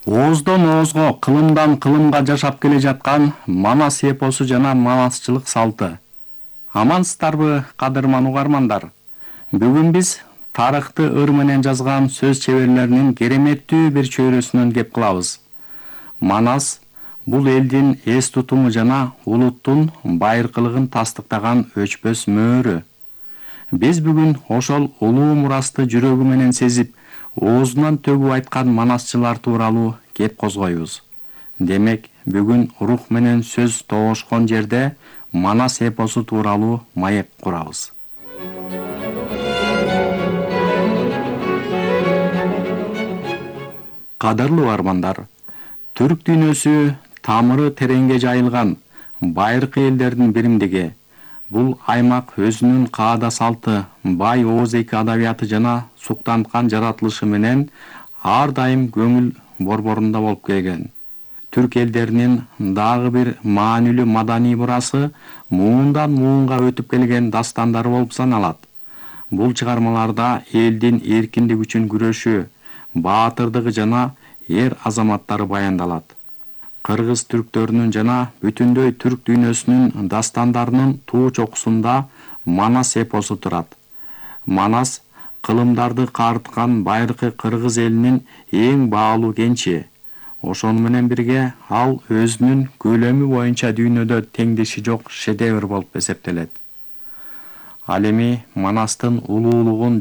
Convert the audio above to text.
Ооздон оозго, кылымдан кылымга жашап келе жаткан Манас эпосу жана манасчылык салты. Амансыздарбы, кадырман угармандар? Бүгүн биз тарыхты ыр менен жазган сөз чеберлеринин кереметтүү бир чөйрөсүнөн кеп кылабыз. Манас бул элдин эс тутуму жана улуттун байыркылыгын тастыктаган өчпөс мөөрү. Биз бүгүн ошол улуу мурасты жүрөгү менен сезип, оозунан төгүп айткан манасчылар тууралуу кеп козгойбуз. Демек, бүгүн рух менен сөз тоошкон жерде Манас эпосу тууралуу маек курабыз. Кадырлуу угармандар, түрк дүйнөсү тамыры тереңге жайылган байыркы элдердин биримдиги. Бул аймак өзүнүн каада салты, бай ооз-эки адабияты жана суктанткан жаратылышы менен ар дайым көңүл борборунда болуп келген. Түрк элдеринин дагы бир маанилүү маданий мурасы муундан муунга өтүп келген дастандары болуп саналат. Бул чыгармаларда элдин эркиндик үчүн күрөшү, баатырдыгы жана эр азаматтары баяндалат. Кыргыз түрктөрүнүн жана бүтүндөй түрк дүйнөсүнүн дастандарынын туу чокусунда Манас эпосу турат. Манас кылымдарды каарыткан байыркы кыргыз элинин эң баалуу кенчи. Ошону менен бирге ал өзүнүн көлөмү боюнча дүйнөдө теңдеши жок шедевр болуп эсептелет. Ал эми Манастын улуулугун